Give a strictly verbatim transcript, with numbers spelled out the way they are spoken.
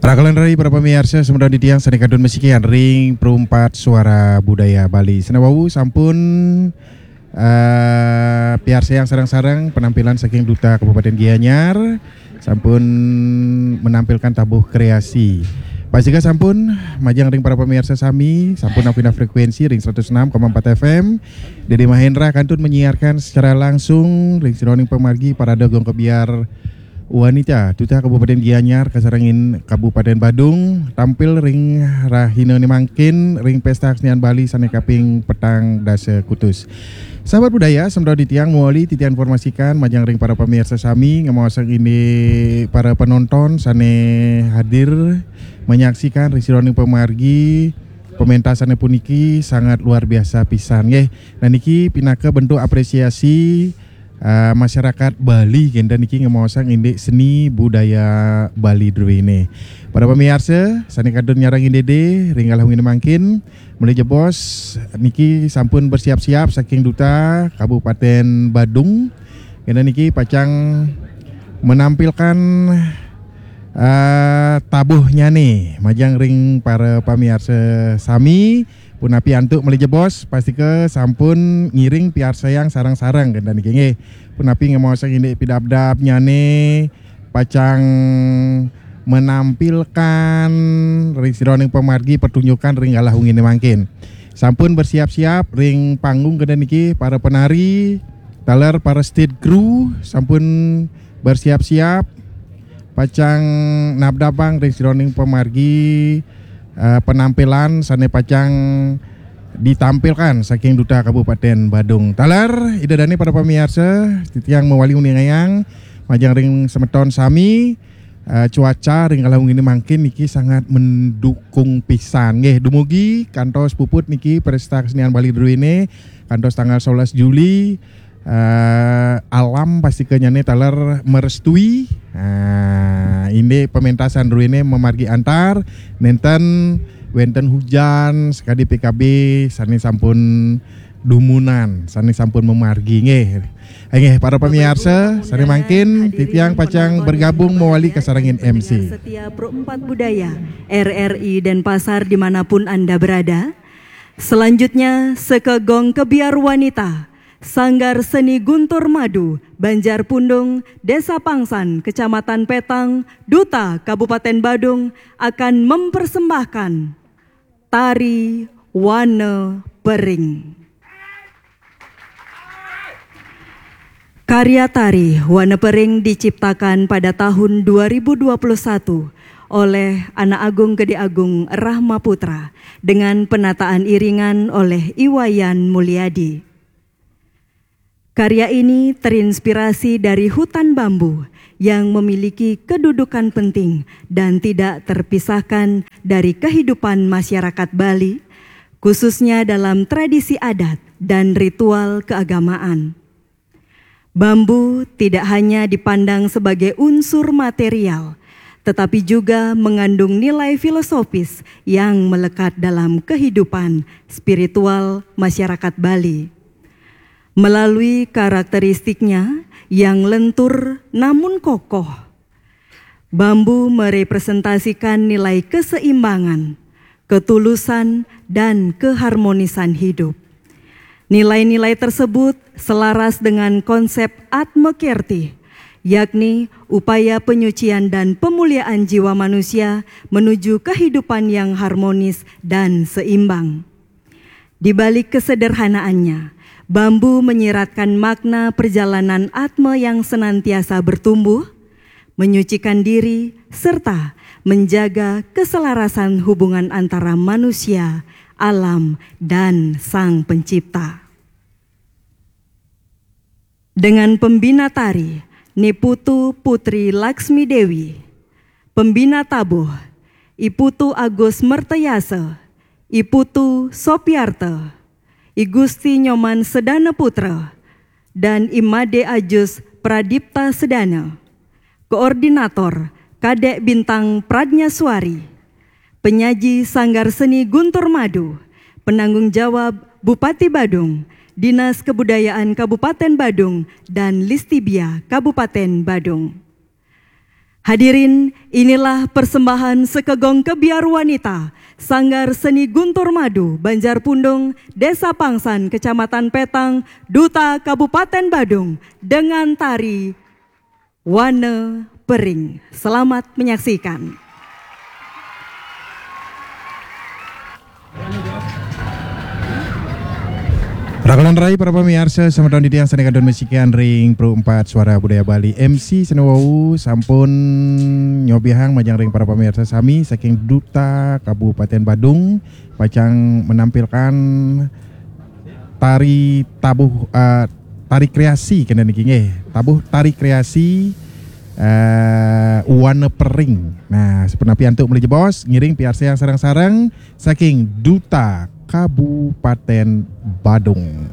Rakalan rai para pamiarsa, semeton titiang sane kantun masikian ring Perumpat Suara Budaya Bali. Sane wau sampun eh, piarsayang sareng-sareng penampilan saking Duta Kabupaten Gianyar, sampun menampilkan tabuh kreasi. Pastika sampun majeng ring para pamiarsa sami, sampun awinah frekuensi ring seratus enam koma empat F M. Dede Mahendra kantun menyiarkan secara langsung ring sajeroning pamargi Parade Gong Kebyar Wanita Duta Kabupaten Gianyar kasarengin Kabupaten Badung tampil ring rahinane mangkin ring Pesta Kesenian Bali sane kaping petang dasa kutus. Sahabat budaya, semeton titiang mawali titiang informasikan majeng ring para pamiarsa sami, ngamaosang indik para penonton sane hadir menyaksikan ring sajeroning pamargi, pementasane puniki sangat luar biasa pisan nggih. Nah, niki pinaka bentuk apresiasi eh, masyarakat Bali kenten niki ngemaosang indik seni budaya Bali druene. Para pamiarsa sane kantun nyarengin Dede ring galah wengi mangkin, malih jebos niki sampun bersiap-siap saking Duta Kabupaten Badung. Kenten niki pacang menampilkan eh, tabuhnyane majeng ring para pamiarsa sami. Punapi antuk malih jebos, pastika sampun ngiring piarsayang sareng-sareng kenten niki nggih. Punapi ngemaosang indik pidabdabnyane pacang menampilkan ring sajeroning pamargi pertunjukan ring galah wengine mangkin. Sampun bersiap-siap ring panggung kenten niki para penari, taler para stage crew sampun bersiap-siap pacang nabdabang ring sajeroning pamargi eh, penampilan sane pacang ditampilkan saking Duta Kabupaten Badung. Taler, Ida dane para pamiarsa, titiang mawali uningayang majeng ring semeton sami, eh, cuaca ring galah wengine mangkin niki sangat mendukung pisan nggih. Dumugi kantos puput niki Pesta Kesenian Bali druene kantos tanggal sebelas Juli, eh, alam pastika nyane taler merestui. Nah, indik pementasan druene mamargi antar, nenten wenten hujan sakadi P K B sane sampun dumunan, sane sampun mamargi nggih. Inggih para pamiarsa, sane mangkin titiang pacang bergabung mawali kasarengin M C. Setia Pro empat Budaya, R R I Denpasar dimanapun Anda berada. Selanjutnya, Seka Gong Kebyar Wanita, Sanggar Seni Guntur Madu, Banjar Pundung, Desa Pangsan, Kecamatan Petang, Duta Kabupaten Badung akan mempersembahkan tari Wana Pering. Karya tari Wana Pering diciptakan pada tahun dua ribu dua puluh satu oleh Anak Agung Gede Agung Rahma Putra dengan penataan iringan oleh Iwayan Mulyadi. Karya ini terinspirasi dari hutan bambu yang memiliki kedudukan penting dan tidak terpisahkan dari kehidupan masyarakat Bali, khususnya dalam tradisi adat dan ritual keagamaan. Bambu tidak hanya dipandang sebagai unsur material, tetapi juga mengandung nilai filosofis yang melekat dalam kehidupan spiritual masyarakat Bali. Melalui karakteristiknya yang lentur namun kokoh, bambu merepresentasikan nilai keseimbangan, ketulusan, dan keharmonisan hidup. Nilai-nilai tersebut selaras dengan konsep Atma Kerti, yakni upaya penyucian dan pemuliaan jiwa manusia menuju kehidupan yang harmonis dan seimbang. Di balik kesederhanaannya, bambu menyiratkan makna perjalanan atma yang senantiasa bertumbuh, menyucikan diri, serta menjaga keselarasan hubungan antara manusia, alam, dan Sang Pencipta. Dengan pembina tari, Ni Putu Putri Laksmi Dewi, pembina tabuh, I Putu Agus Mertayasa, I Putu Sopiarta, I Gusti Nyoman Sedana Putra, dan I Made Ajus Pradipta Sedana. Koordinator, Kadek Bintang Pradnya Suari. Penyaji, Sanggar Seni Guntur Madu. Penanggung jawab, Bupati Badung, Dinas Kebudayaan Kabupaten Badung, dan Listibia Kabupaten Badung. Hadirin, inilah persembahan sekegong kebiar wanita Sanggar Seni Guntur Madu, Banjar Pundung, Desa Pangsan, Kecamatan Petang, Duta Kabupaten Badung, dengan tari Wane Pering. Selamat menyaksikan. Rakan rai para pamiarsa, selamat datang di tiang sané kantun masikian ring Pro empat Suara Budaya Bali. M C sané wau sampun nyobihang majeng ring para pamiarsa sami saking Duta Kabupaten Badung, pacang menampilkan tari tabuh, eh, tari kreasi kénten niki nggih. Tabuh tari kreasi, eh, Wane Pering. Nah, sapunapi antuk malih jebos, ngiring piarsayang sareng-sareng saking Duta Kabupaten Badung.